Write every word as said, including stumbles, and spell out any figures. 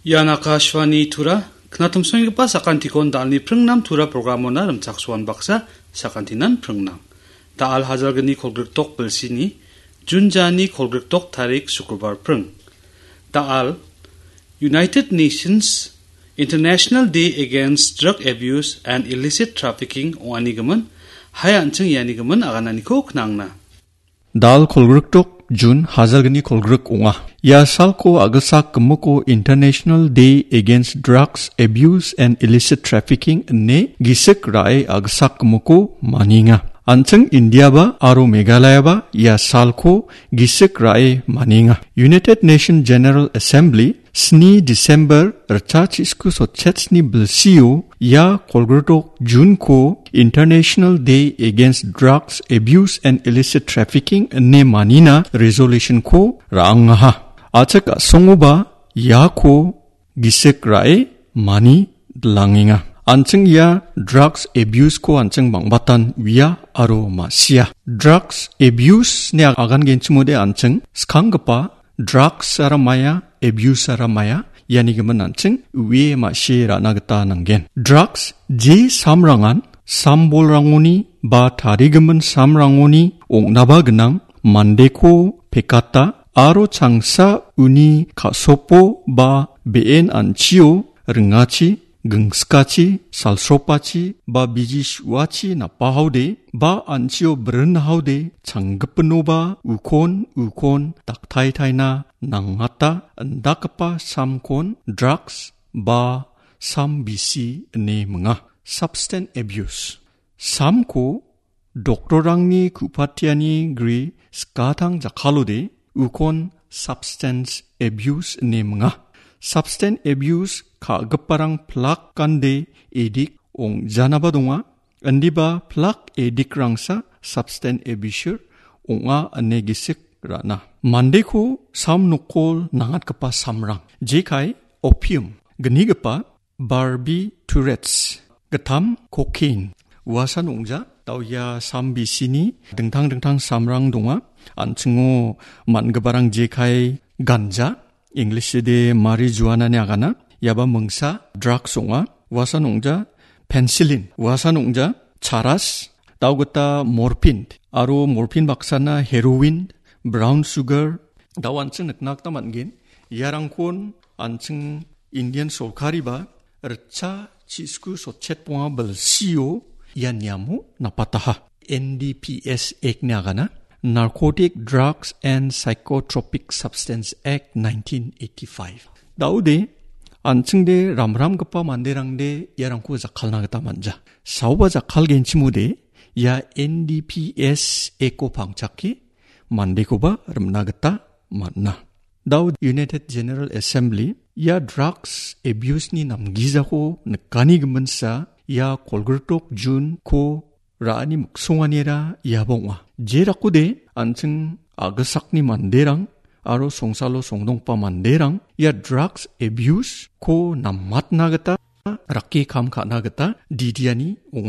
Ian Akashvani Tura, knatumsonggipa sakantikon dalni pringnam Tura programona rimchaksoan baksa sakantinan pringnam. Dal hajalgni kolgrikdok bilsini, Jun jani kolgrikdok tarik Sukrobar pring. Dal United Nations International Day Against Drug Abuse and Illicit Trafficking ong·anigimin, hai an·ching ianigimin agananiko knangna. Dal kolgrikdok Jun hajalgni kolgrik ong·a. Ia salko a·gisak gimiko International Day Against Drugs Abuse and Illicit Trafficking ine gisik ra·e a·gisak gimiko manienga. An·ching Indiaba aro Meghalayaba ia salko gisik ra·e manienga. United Nation General Assembly sni December ritchasku sotchetsni bilsio ia kolgrikdok Junko International Day Against Drugs Abuse and Illicit Trafficking ine manina resolutionko ra·angaha. A·chik a·songoba iako gisik ra·e mani dilangenga. An·ching ia drugs abuseko an·ching bang·batan uia aro ma·sia. Drugs abuseni ag-, agangenchimode an·ching skanggipa drugsara maia, abuseara maia, ianigimin an·ching uie ma·sie ra·na gita nanggen. Drugs je samrangan sambolrangoni ba tarigimin samrangoni ong·naba gnang, mandeko pekata aro changsa uni ka·sopo ba be·en an·chio ringachi, gingskachi, salsropachi ba biji su·achi napahaode ba an·chio brinhaode changgipinoba ukon ukon daktaitaina nangata indakgipa samkon drugs ba sam bisi ine minga. Substance abuse. Samko doktorrangni ku·patiani gri skatang jakkalode ukon substance abuse ine minga. Substance abuse ka·giparang plak gande edik ong·janaba donga. Indiba plak edikrangsa substance abuser ong·a ine gisik ra·na. Mandeko sam nokol nangatgipa samrang, jekai opium gnigipa barbiturates, gittam cocaine, uasan ong·ja, dao ia sam bisini dingtang dingtang samrang donga. An·chingo man·giparang jekai ganja, Englishde marijuana ine agana, iaba mingsa drugs ong·a, uasan ong·ja, penicillin, uasan ong·ja, charas, dao gita morphine, aro morphine baksana heroin, brown sugar, dao an·ching nikna gita man·gen. Iarangkon an·ching Indian sorkariba ritchasku sotchet bonga bilsio ia niamo napataha. N D P S Act ine agana, Narcotic Drugs and Psychotropic Substance Act nineteen eighty-five. Daode, an·chingde ramramgipa manderangde iarangko jakkalna gita man·ja. Saoba jakkalgenchimode, ia N D P S Actko pangchake mandekoba rimna gita man·a. Dao United General Assembly ia drugs abuseni namgijako nikani giminsa ia kolgritok Junko ra·ani miksonganira iaba ong·a. Jerakode an·ching a·gisakni manderang aro songsalo songdonggipa manderang ia drugs abuseko namatna gita, rake kam ka·na gita didiani ong·a.